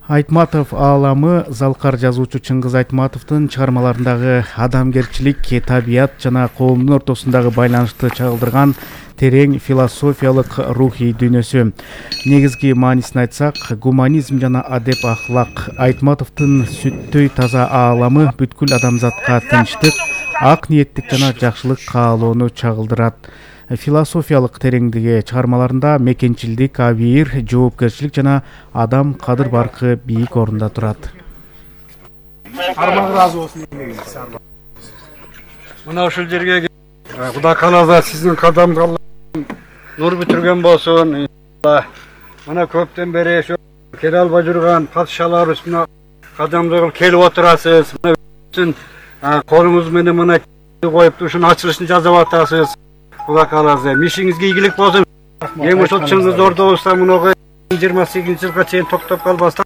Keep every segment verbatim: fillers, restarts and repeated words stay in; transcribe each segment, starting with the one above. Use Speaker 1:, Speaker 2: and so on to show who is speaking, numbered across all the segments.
Speaker 1: Айтматов ааламы залкар жазуучу Чыңгыз Айтматовдун чыгармаларындагы адамгерчилик, табият жана коомдун ортосундагы байланышты чагылдырган терең философиялык рухий дүйнөсү. Негизги маанисин айтсак, гуманизм жана адеп ахлак. Айтматовдун сүттөй таза ааламы бүткүл адамзатка тынчтык, ак ниеттик жана жакшылык каалоону чагылдырат. Философиялык тереңдиги чыгармаларында мекенчилдик, абийир, жоопкерчилик жана адам кадыр баркы бийик орунда турат.
Speaker 2: Арман разы болсун. Мына ушул жерге Кудай кааласа сиздин кадамга нур бүтүргөн болсун. Мына көптөн бери ошо келе албай жүргөн падышаларыбыз мына кадамга келип отурасыз. Мына колуңуз менен мына коюп ушунун ачылышын жасап атасыз. Кудай кааласа мишиңизге ийгилик болсун. Эми ошол Чыңгыз ордобузда мынага жыйырма сегизинчи жылга чейин токтоп калбастан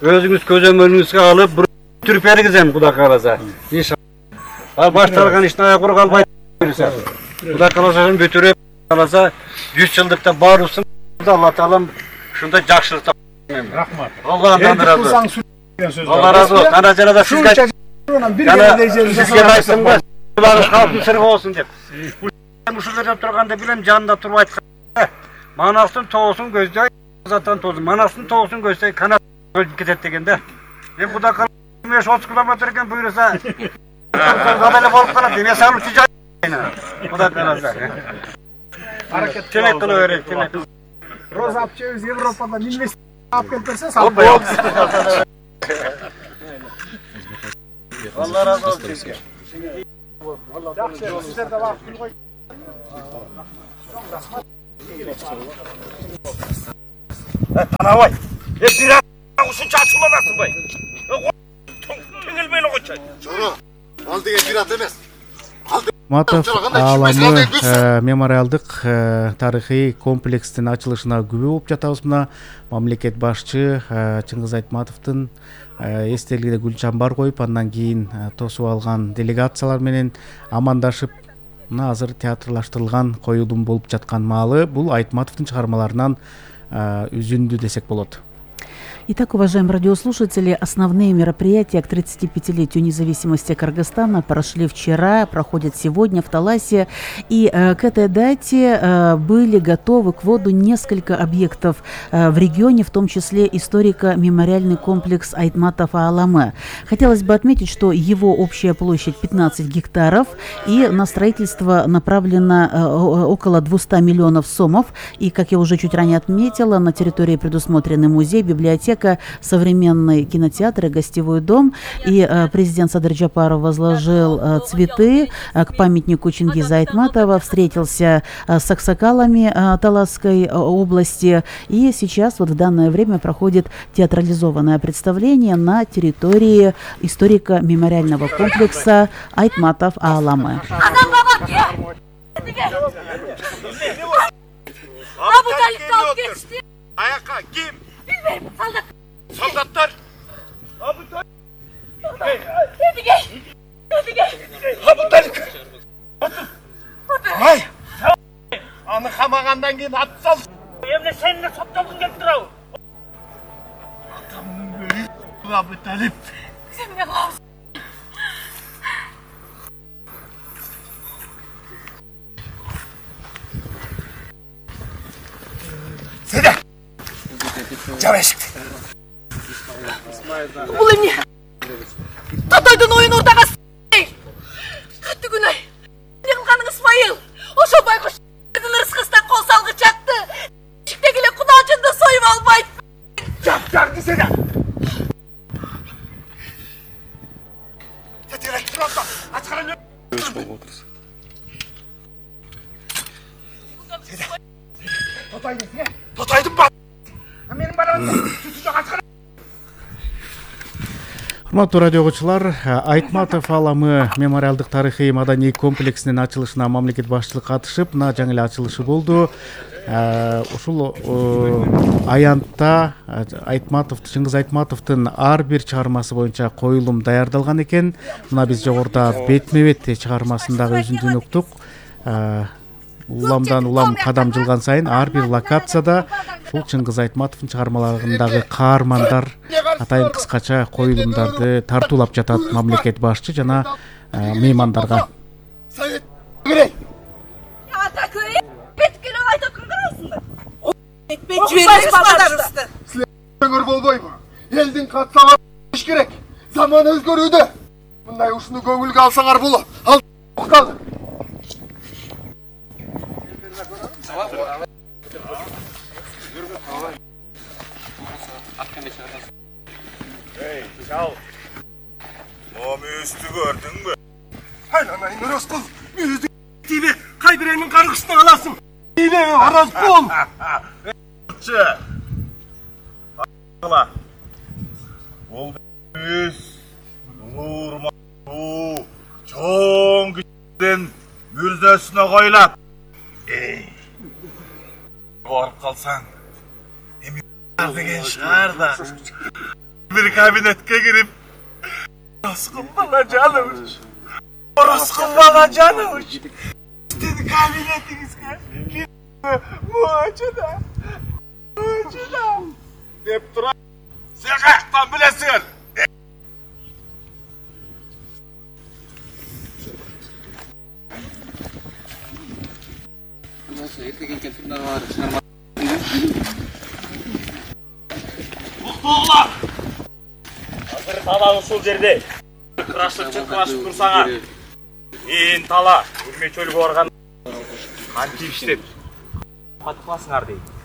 Speaker 2: өзүңүз көзөмөлүңүзгө алып бүтүрүп бергизем, Кудай кааласа. Иншалла. Башталган иштин аягы калбайт. Кудай кааласа бүтүрүп кааласа жүз жылдыкта баарыбыздын Алла таалам ушундай жакшылыкта.
Speaker 3: Рахмат.
Speaker 2: Алладан ыраазы. Алла ыраазы болсун. Ана жанагы сизге сизге айттым го. Булар калктын сыры болсун деп. Ушул жерде турганда билем жанында туруп айткан. Манастын тоосун көздөй, Азаттан тоосун. Манастын тоосун көздөй канат кетет деген да. Мен Кудай кааласа отуз километр экен буйруса. Кадале болуп калат. Эме салып жай. Кудай кааласа. Аракет телек кыла берет, телек.
Speaker 3: Роза апчебиз Европадан инвестиция алып келип берсе салып коебуз.
Speaker 2: Алла разы болсун.
Speaker 3: Жакшы, сиздер да багып кой.
Speaker 2: Танабай. Э, бир ушунча ачууланасыңбай. Теңелбей эле койчу.
Speaker 4: Жора, ал деген пират эмес.
Speaker 1: Айтматов ааламы мемориалдык тарыхый комплекстин ачылышына күбө болуп жатабыз. Мына мамлекет башчы Чыңгыз Айтматовдун эстелигине гүл чамбар коюп, андан кийин тосуп алган делегациялар менен амандашып, мына азыр театрлаштырылган коюлум болуп жаткан маалы бул Айтматовдун чыгармаларынан үзүндү десек болот.
Speaker 5: Итак, уважаемые радиослушатели, основные мероприятия к тридцатипятилетию независимости Кыргызстана прошли вчера, проходят сегодня в Таласе. И э, к этой дате э, были готовы к вводу несколько объектов э, в регионе, в том числе историко-мемориальный комплекс Айтматов ааламы. Хотелось бы отметить, что его общая площадь пятнадцать гектаров, и на строительство направлено э, около двухсот миллионов сомов. И, как я уже чуть ранее отметила, на территории предусмотрены музей, библиотека, современный кинотеатр и гостевой дом. И э, президент Садыр Джапаров возложил э, цветы э, к памятнику Чингиза Айтматова, встретился э, с аксакалами э, Таласской э, области. И сейчас вот в данное время проходит театрализованное представление на территории историко-мемориального комплекса Айтматов ааламы.
Speaker 6: Bilmiyorum, soldat.
Speaker 2: Солдаттар.
Speaker 6: Abutay. Edige. Edige.
Speaker 2: Абутay. Ай. Аны камагандан кийин ат сал.
Speaker 6: Эмне сени соттолгун келип турабы?
Speaker 2: Атамдын бөлү Абуталип.
Speaker 6: Сен эмне кылабыз?
Speaker 2: Седе. Жабешик.
Speaker 6: Бул эмне? Татойдун оюн урдага катты күнөй. Эмне кылганың Исмайыл? Ошо байкуш ырыскыстан кол салгыч чакты. Ишиктеги эле кудалчынды союп албайт.
Speaker 2: Жаптарды седе. Тетелек турапта. Ачкаран. Седе. Тотайды сине. Тотайды ба. Менин барамын. Сүтү жок ачкаран.
Speaker 1: Урматтуу радио окуучулар, Айтматов ааламы мемориалдык тарыхый маданий комплексинин ачылышына мамлекет башчылыгы катышып, мына жаңы эле ачылышы болду. Ушул аянтта Айтматов, Чыңгыз Айтматовдун ар бир чыгармасы боюнча коюлум даярдалган экен. Мына биз жогоруда бетме-бет чыгармасындагы үзүндүн уктук. уламдан улам кадам жылган сайын ар бир локацияда ушул Чыңгыз Айтматовдун чыгармаларындагы каармандар атайын кыскача коюлумдарды тартуулап жатат мамлекет башчы жана меймандарга.
Speaker 4: Совет керек.
Speaker 6: Ата көй, беткеле айтып ким карайсыңдар? Этпей
Speaker 3: жибербеңиз балдарыңызды.
Speaker 4: Өңөр болбойбу. Элдин катсага иш керек. Заман өзгөрүүдө. Мындай ушуну көңүлгө алсаңар болот. Ал калды.
Speaker 7: Эй, чал. Мөмүздү көрдүңбү?
Speaker 4: Айланайын Рыскул. Мүйүздү тиби кайбиренин каргышына аласың. Эйле Аразкул.
Speaker 7: Чы. Ала. Ол мүйүз улурма у чоң күчтен мүрзөсүнө койлап. Эй. Барып калсаң, эми деген шаар да. Bir kabinetke girip Orosqul bala canımış. Orosqul bala canımış. Sizin kabinetinizge gitme muacıda. Muacıda. Dep duran. Sen kaçtan bilesin.
Speaker 8: Nasıl ertegen keltimden var çıkarma.
Speaker 7: Muhtuğlar. Hazır tala ушул жерде. Кырашып чыккылашып турсаңар. Мен тала, үрмөчөлгө барган кантип иштеп пат кыласыңар дейт.